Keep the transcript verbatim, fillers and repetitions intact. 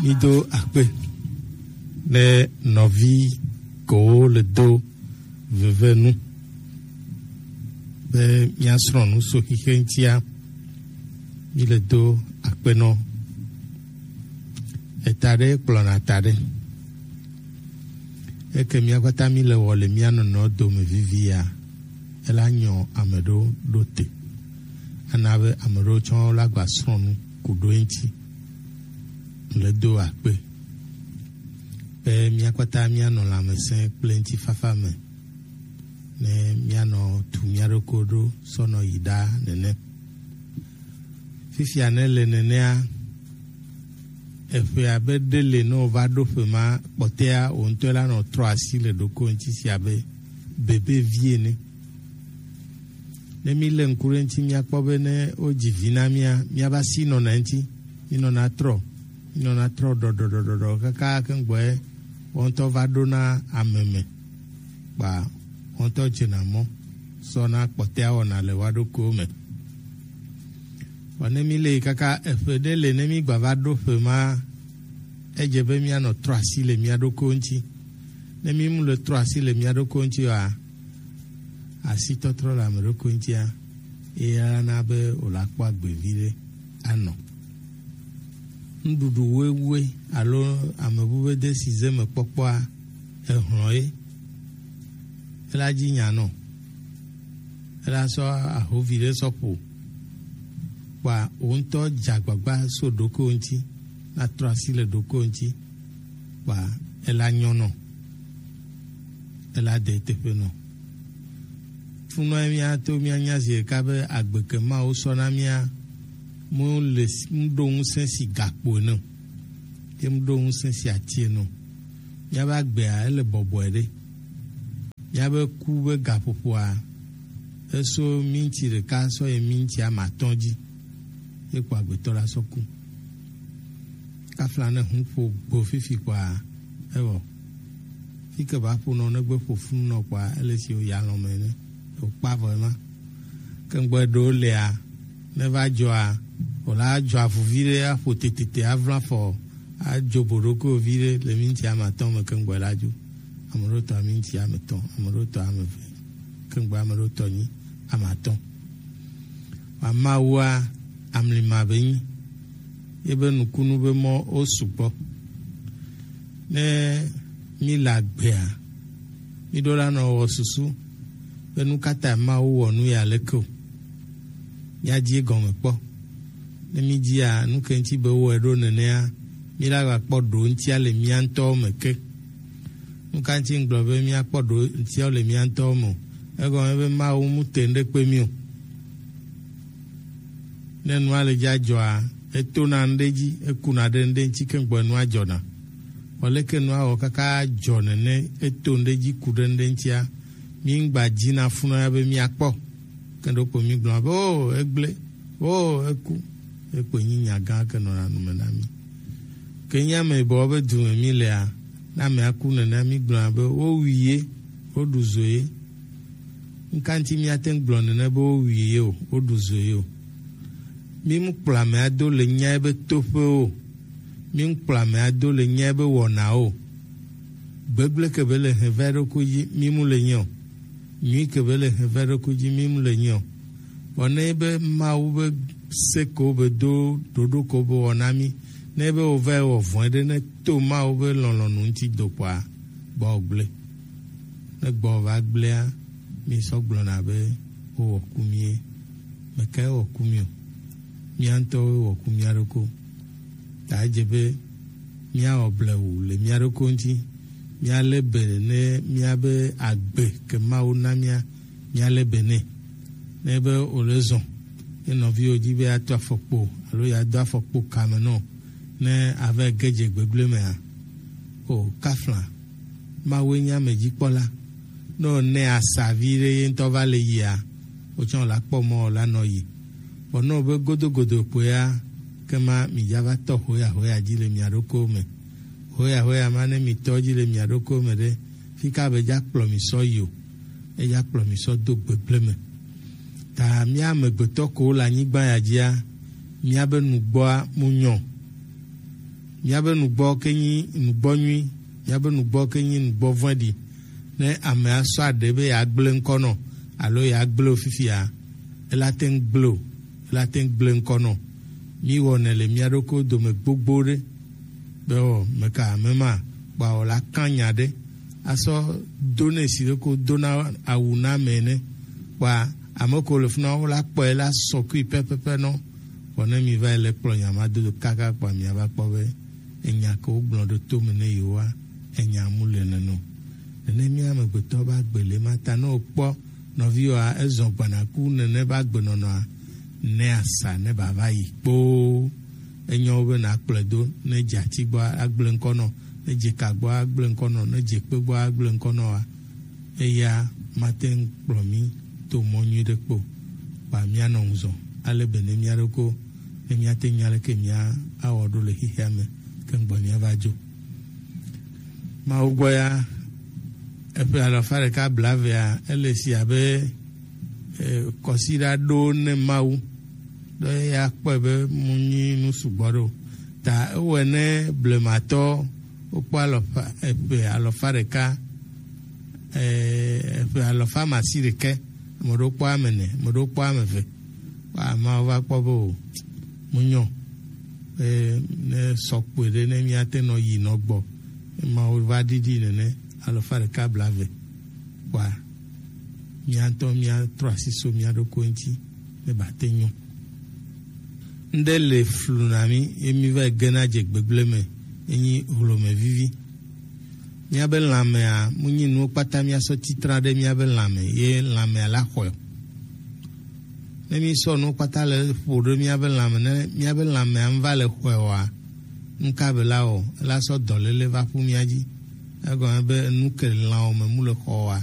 Mido akpe ne nɔvi kewo le do veve nu be miasrɔ̃ nu so xixe ŋutia. Mi le do akpe nɔ eta ɖe kplɔna ta ɖe. Eke mia kpata mi le wɔ le mia nɔnɔ dome vivia, ela nyɔ ame ɖewo ɖo te. Ana be ame ɖewo tsɔ la gba srɔ̃ nu ku ɖo eŋuti. Le do akpe be mia kpata mia nɔ lãmesẽ kple ŋutifafa me ne mia nɔ tu mia ɖokui ɖo sɔ nɔ yi ɖa nene. Fifia ne le nenea, eƒe abe ɖe le ne wova ɖo ƒe ma kpɔtɛa wò ŋutɔ la nɔ trɔ asi le ɖoko ŋuti si abe bebe vi ene. Ne mi le ŋku ɖe ŋuti, miakpɔ be ne wodzi vi na mia, miava si nɔna ŋuti, minɔna trɔ, minɔna trɔ ɖɔɖɔɖɔɖɔ kaka keŋgbɔe wo ŋutɔ va ɖona ame me, kpa wo ŋutɔ dzena mɔ sɔ na kpɔtɛa wɔna le wa ɖokuiwo me. Vɔ ne mi le yi kaka eƒe ɖe le ne mi gba va ɖo ƒe ma, edze be mianɔ trɔ asi le mia ɖokuiwo ŋuti. Ne mi mu le trɔ asi le mia ɖokuiwo ŋuti oa, asitɔtrɔ le ame ɖokui ŋutia, eya na be wòla kpɔ agbe vi ɖe anɔ. Nuɖuɖu wewue alo ame bu be desi ze me kpɔkpɔa, ehlɔ̃ ye. Ela dzi nya nɔ. Ela sɔ ahovi ɖe sɔ ƒo. Kpa wò ŋutɔ dze agbagba so ɖokuiwò ŋuti, na trɔ asi le ɖokuiwò ŋuti, kpa ela nyɔ nɔ, ela de teƒe nɔ. Funɔ mía to mía nya zi ɖeka be agbe ke Mawu sɔ na mía mu le s- mu ɖo ŋusẽ si gakpo ene o. Ye mu ɖo ŋusẽ si ati ene o. Míabe agbea ele bɔbɔe ɖe. Míabe ku be gaƒoƒoa, eso minti ɖeka sɔ yi minti ame atɔ̃ dzi, ye kpɔ agbetɔ la sɔ ku. Kafla ne hun ƒo gbo fifi kpɔa, ewɔ. Fi ke va ƒo nɔ negbe ƒo funu nɔ kpɔa, ele si o ya lɔ̃ me ne o kpa vɔ ema. Ke ŋgbɔ ɖewo lea, ne va dzɔa, wòla adzɔ avuvi ɖe aƒo tetete avla fɔ, adzo boɖokovi ɖe le minti ame atɔ̃ me ke ŋgbɔ la dzo. Ame ɖewo tɔ minti ame etɔ̃, ame ɖewo tɔ ame eve, ke ŋgbɔ ame ɖewo tɔ nyi ame atɔ̃. Amawua amlima be nyi, ebe nukunu be mɔ wo sugbɔ. Ne mi le agbea, mi ɖo la nɔ wɔ susu be nu ka ta Mawu wɔ nu ya leke o. Míadzi egɔme kpɔ. Ne mídzia nu ke ŋuti be wowɔe ɖo nenea, míla va kpɔ ɖo ŋutia le mía ŋutɔwo me ke. Nu ka ŋuti ŋgblɔ be míakpɔ ɖo ŋutia le mía ŋutɔwo me o? Egɔme be Mawu mu te ŋɖe kpe mí o. Ne nua le dza dzɔa, etona ŋɖe dzi, ekuna ɖe ŋɖe ŋuti ke ŋgbɔ nua dzɔna. Vɔ leke nua wɔ kaka dzɔ nene, eto ŋɖe dzi ku ɖe ŋɖe ŋutia, mi ŋgba dzina funɔ ya be miakpɔ. Ke ɖokpo mi gblɔna be, o, egblẽ, o, eku. Ekpo nyi nya gã ke nɔna nu me na mi. Ke nye ame yibɔ be du me mi lea, ne amea ku nene mi gblɔna be wowui ye, woɖu zo ye. Ŋka ŋuti míate ŋu gblɔ nene be wowui ye o, woɖu zo ye o? Mi mu kplɔ ame ado le nyae be toƒe o. Mi mu kplɔ ame ado le nyae be wɔna o. Gbegblẽ ke be le hɛvɛ ɖokui dzi, mi mu le nyi o. Nyui ke be le hɛvɛ ɖokui dzi, mi mu le nyi o. Vɔ ne be Mawu be se ko be do ɖoɖo ko be wɔna mi, ne be wova wɔ vɔ̃e ɖe ne to Mawu be lɔlɔ̃nu ŋuti do kpɔa, gbɔ gblẽ. Ne gbɔ va gblẽa, mi sɔ gblɔna be wowɔ ku mi ye. Mekae wɔ ku mi o? Mía ŋutɔwoe wɔ ku mía ɖokui. Ta edze be míawɔ blewu le mía ɖokui ŋuti. Míalé be ne míabe agbe ke Mawu na mía, míalé be nɛ. Ne be wòle zɔ, ye nɔviwo dzi be yeato afɔkpo alo yeado afɔkpo kame nɔ, ne ava ge dze gbegblẽ mea, o kafla, Mawue nye amedzikpɔla. Ne wònɛ asa vi ɖe ye ŋutɔ va le yia, wotsɔ la kpɔ mɔ la nɔ yi. Vɔ ne wobe godogodo kpoea, ke ma midza va tɔ hoya hoya dzi le mia ɖokuiwo me. Hoya hoya ma ne mitɔ dzi le mia ɖokuiwo me ɖe, fi ka be dza kplɔ mi sɔ yi o, edza kplɔ mi sɔ do gbegblẽ me. Ta mía amegbetɔ kowo le anyigba ya dzia, míabe nugbɔa mu nyɔ. Míabe nugbɔ ke nyi nugbɔ nyui, míabe nugbɔ ke nyi nugbɔ vɔ̃ɖi. Ne ame asɔ aɖe be yeagblẽ ŋkɔ nɔ alo yeagblẽ wo fifia, ela te ŋu gblẽ o, ela te ŋu gblẽ ŋkɔ nɔ. Míwɔnɛ le mía ɖokui dome gbogbo ɖe be wɔ meka ame ma kpa wɔ la kan nya ɖe asɔ do nɛ si ɖe ko dona awu na ame ene. Kpa ame ko le funa wo la kpɔe la sɔ kui pɛpɛpɛ nɔ. Vɔ ne mi va yi le kplɔ nya ma dodo kaka kpa mia va kpɔ be enya ke wo gblɔ ɖo to me ne yewoa, enya mu le neno. Nene mía amegbetɔ ba gbele ma ta ne wokpɔ nɔviwoa ezɔ gbanaku nene ba gbenɔnɔa, ne asa ne ba va yi kpoo. Enyo be na kplɔe do ne dze ati gbɔ agblẽ ŋkɔ nɔ, ne dze ka gbɔ agblẽ ŋkɔ nɔ, ne dze kpe gbɔ agblẽ ŋkɔ nɔ wa. Eya mate ŋu kplɔ mí to mɔ nyui ɖe kpo. Kpa míanɔ ŋuzɔ ale be ne mía ɖoko ne míate nya leke mía awɔ ɖo le xexea me ke ŋgbɔ mía va dzo. Mawu gbɔ ya, eƒe alafa ɖeka blavea ele si abe eh, kɔsiɖa ɖo ne Mawu ɖe ya kpɔe be mu nyi nu sugbɔ ɖo. Ta ewɔe ne blematɔ wokpɔ alɔfa eƒe alɔfa ɖeka eh, eƒe alɔfa masi ɖekɛ, ame ɖewo kpɔ ame ne, ame ɖewo kpɔ ame ve. Wa ameawo va kpɔ be o, mu nyɔ be ne sɔ kpoe ɖe ne míate nɔ yi nɔ gbɔ. Emawo va ɖiɖi nene alɔfa ɖeka blave. Wa mía ŋutɔ míatrɔ asi so mía ɖokui ŋuti ne bate nyɔ. Ŋɖe le flu na mí ye mí va yi gena dze gbegblẽ me, enyi hlome vivi. Míabe lãmea mu nyi nuwo kpata míasɔ titra ɖe míabe lãme ye lãmea la xɔe. Ne mísɔ nuwo kpata le ƒo ɖe míabe lãme, ne míabe lãmea ŋu va le xɔe oa, ŋka be la wɔ, ela sɔ dɔléle va ƒu mía dzi. Egɔme be nu ke lãwo me mu le xɔ oa,